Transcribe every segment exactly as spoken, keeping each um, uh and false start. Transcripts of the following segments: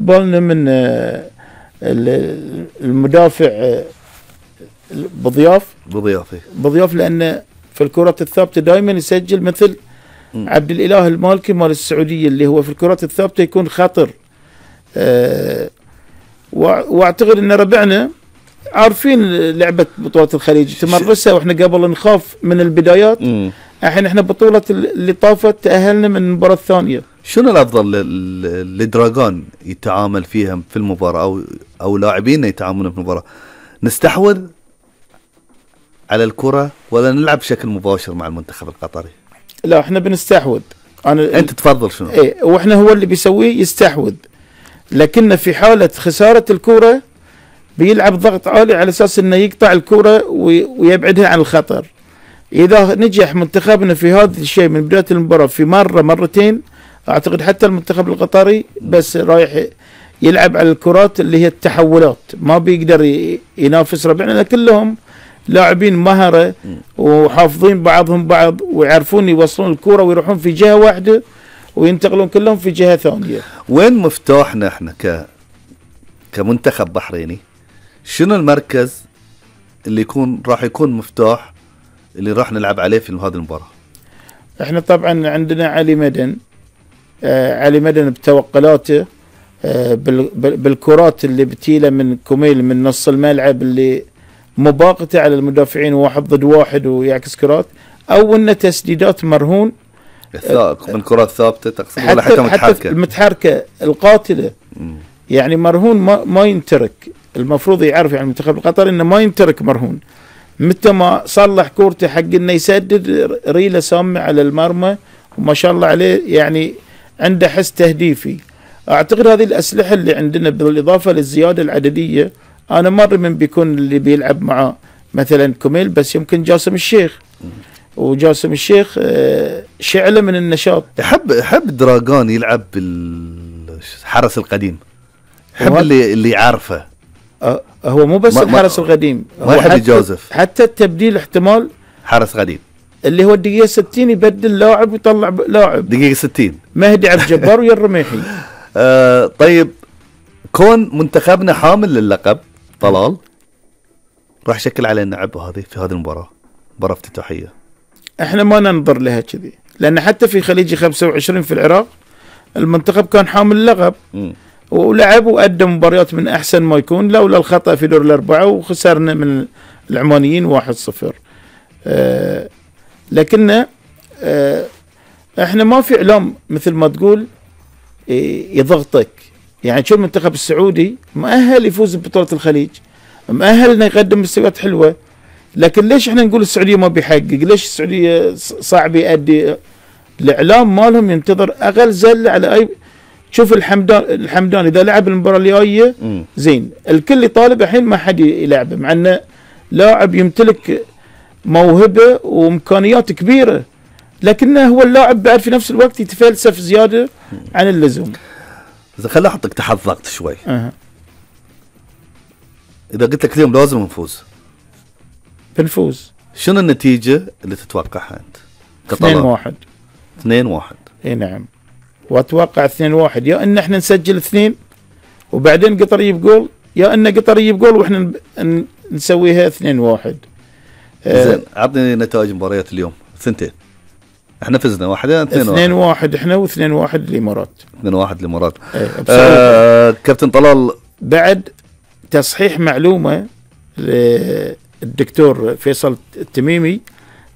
بالنا من المدافع بضياف بضياف بضياف لأنه في الكرات الثابتة دائما يسجل مثل م. عبد الإله المالكي مال السعودية اللي هو في الكرات الثابتة يكون خطر. أه واعتقد ان ربعنا عارفين لعبة بطولة الخليج تمرسها واحنا قبل نخاف من البدايات. الحين احنا بطولة اللي طافت تأهلنا من المباراة الثانية. شنو الافضل لدراغون يتعامل فيها في المباراة او او لاعبين يتعاملون في المباراة؟ نستحوذ على الكرة ولا نلعب بشكل مباشر مع المنتخب القطري؟ لا احنا بنستحوذ. انا انت تفضل شنو؟ ايه واحنا هو اللي بيسويه يستحوذ، لكن في حالة خسارة الكرة بيلعب ضغط عالي على اساس انه يقطع الكرة ويبعدها عن الخطر. اذا نجح منتخبنا في هذا الشيء من بداية المباراة في مرة مرتين، اعتقد حتى المنتخب القطري بس رايح يلعب على الكرات اللي هي التحولات، ما بيقدر ينافس ربعنا، كلهم لاعبين مهرة وحافظين بعضهم بعض ويعرفون يوصلون الكرة ويروحون في جهة واحدة وينتقلون كلهم في جهة ثانية. وين مفتاحنا احنا ك كمنتخب بحريني؟ شنو المركز اللي يكون راح يكون مفتاح اللي راح نلعب عليه في هذه المباراة؟ احنا طبعا عندنا علي مدن. آه علي مدن بتوقلاته آه بالكرات اللي بتيله من كوميل من نص الملعب اللي مباغته على المدافعين واحد ضد واحد ويعكس كرات، او انه تسديدات مرهون من كرات ثابته تقصد ولا حتى متحركه؟ حتى المتحركه القاتله. مم. يعني مرهون ما, ما ينترك، المفروض يعرف يعني المنتخب القطري انه ما ينترك مرهون. متى ما صلح كورته حق انه يسدد ريله سامه على المرمى وما شاء الله عليه، يعني عنده حس تهديفي. اعتقد هذه الاسلحه اللي عندنا بالاضافه للزياده العدديه. انا ما ادري من بيكون اللي بيلعب معاه، مثلا كوميل، بس يمكن جاسم الشيخ. وجاسم الشيخ شعله من النشاط. يحب يحب دراغون يلعب بالحرس القديم، يحب اللي اللي يعرفه. أه هو مو بس الحرس القديم، ما يحب يجازف. حتى التبديل احتمال حرس قديم اللي هو الدقيقة ستين يبدل لاعب ويطلع لاعب. دقيقة ستين مهدي عبد الجبار ويا الرميحي. آه طيب، كون منتخبنا حامل للقب طلال راح يشكل علينا عبء هذه في هذه المباراة، مباراة افتتاحية. احنا ما ننظر لها كذي، لان حتى في خليجي خمسة وعشرين في العراق المنتخب كان حامل اللقب ولعب وأدى مباريات من أحسن ما يكون، لولا الخطأ في دور الأربعة وخسرنا من العمانيين واحد صفر. آه لكن آه احنا ما في إعلام مثل ما تقول يضغطك. يعني شو المنتخب السعودي مؤهل يفوز ببطولة الخليج، مؤهل انه يقدم مستويات حلوة، لكن ليش احنا نقول السعودية ما بيحقق؟ ليش السعودية صعب يؤدي؟ الإعلام مالهم ينتظر أقل زلة على أي. شوف الحمدان الحمدان اذا لعب المباراه الجايه زين، الكل يطالب الحين ما حد يلعبه، مع انه لاعب يمتلك موهبه وامكانيات كبيره، لكنه هو اللاعب بعد في نفس الوقت يتفلسف زياده عن اللزوم. اذا خليني احطك تحت ضغط شوي. أه. اذا قلت لك اليوم لازم نفوز، بنفوز. شنو النتيجه اللي تتوقعها انت؟ اثنين واحد. اثنين واحد. اي نعم، واتوقع اثنين واحد، يا ان احنا نسجل اثنين وبعدين قطر يجيب جول، يا ان قطر يجيب جول واحنا نسويها اثنين واحد. زين، عطني نتائج مباريات اليوم. ثنتين احنا فزنا، واحدين اثنين واحد. اثنين واحد احنا واثنين واحد الامارات. اثنين واحد الامارات. آه كابتن طلال، بعد تصحيح معلومه للدكتور فيصل التميمي،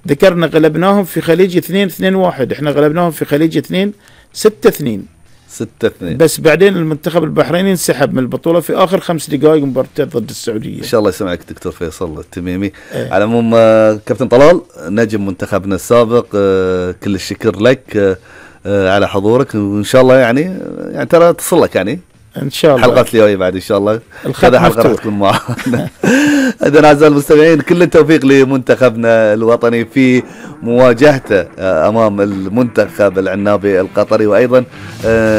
ذكرنا غلبناهم في خليج اثنين اثنين واحد، احنا غلبناهم في خليج اثنين ستة اثنين. ستة اثنين. بس بعدين المنتخب البحريني انسحب من البطولة في آخر خمس دقائق مبارته ضد السعودية. إن شاء الله يسمعك دكتور فيصل التميمي. ايه. على العموم كابتن طلال نجم منتخبنا السابق، كل الشكر لك على حضورك، وإن شاء الله يعني يعني ترى تصل لك يعني ان شاء الله حلقات اليوم بعد ان شاء الله هذا حلقه راح تكون معنا. اذا اعزائي المستمعين، كل التوفيق لمنتخبنا الوطني في مواجهته امام المنتخب العنابي القطري، وايضا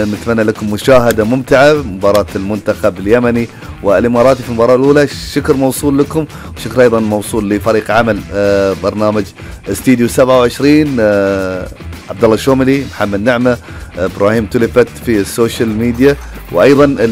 نتمنى لكم مشاهده ممتعه مباراه المنتخب اليمني والاماراتي في المباراه الاولى. الشكر موصول لكم، وشكر ايضا موصول لفريق عمل برنامج استديو سبعة وعشرين. عبد الله الشوملي، محمد نعمة، ابراهيم تلفت في السوشيال ميديا، وايضا اللي